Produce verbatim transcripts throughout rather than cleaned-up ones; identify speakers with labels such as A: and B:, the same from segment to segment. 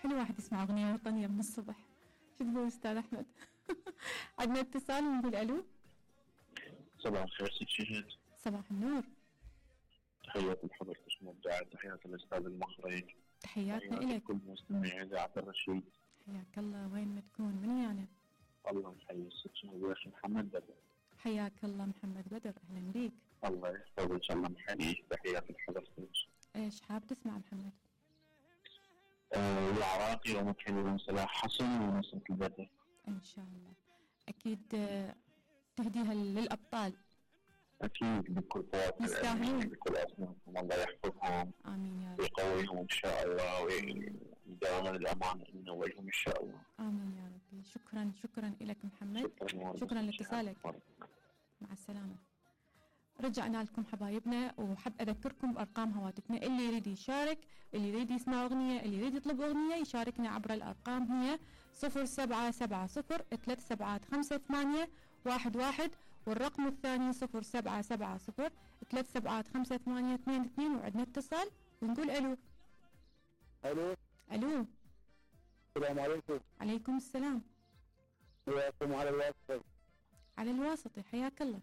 A: حلو واحد يسمع أغنية وطنية من الصبح. شو تقول أستاذ أحمد؟ عندنا اتصال نقول ألو.
B: صباح الخير ست شهد.
A: صباح النور.
B: تحياتي لحضرتك المبدعة، تحياتي للأستاذ المخرج،
A: تحياتنا إلك.
B: كل مستمعي إذاعة الرشيد.
A: حياك الله. وين ما تكون؟ من ويانا؟
B: الله يحيي ست شهد يا أخي محمد بدر.
A: حياك الله محمد بدر، أهلا بيك.
B: الله يحفظك إن شاء الله محييك، تحياتي لحضرتك.
A: إيش حاب تسمع محمد؟
B: آه العراقي ومكحلي صلاح حسن ونصرة البدر.
A: إن شاء الله أكيد. آه تهديها للأبطال.
B: أكيد بكل قوات
A: يستاهلون،
B: بكل أصنافهم، الله يحفظهم.
A: آمين يا رب.
B: ويقويهم إن شاء الله ويداوم الأمان إنه وجههم إن شاء الله.
A: آمين يا ربي. شكرا شكرا لك محمد.
B: شكرا,
A: شكرا لاتصالك. مع السلامة. رجعنا لكم حبايبنا، وحب أذكركم بأرقام هواتفنا. اللي يريد يشارك، اللي يريد يسمع أغنية، اللي يريد يطلب أغنية يشاركنا عبر الأرقام هي صفر سبعة سبعة صفر ثلاث سبعات خمسة ثمانية واحد واحد، والرقم الثاني صفر سبعة سبعة صفر ثلاث سبعات خمسة ثمانية اثنين اثنين. وعندنا اتصال ونقول ألو.
C: ألو.
A: ألو.
C: السلام عليكم.
A: عليكم السلام.
C: وياكم على الواسطة.
A: على الواسطة، حياك الله.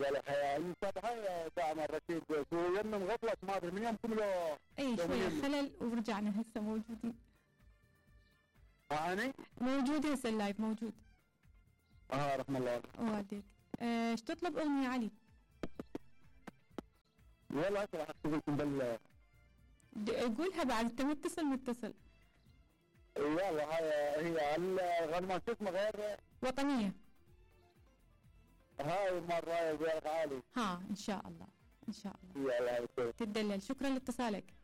C: قال حيا المتابعة يا داعم الرشيد، شو يمنا مغفلت ما ادري من يومكم لو
A: اي شوية خلل ورجعنا هسه موجودين.
C: معاني؟
A: موجود هسه اللايف موجود.
C: اه رحم الله
A: والديك. ايش تطلب أغنية علي؟
C: والله هسه راح اكتب لكم بال
A: قولها بعد، انت متصل متصل.
C: يلا هاي هي الغنمة شو اسمها غير
A: وطنية.
C: هاي مرة غير عالي.
A: ها ان شاء الله ان شاء الله.
C: يلا
A: تدلل. شكرا لاتصالك.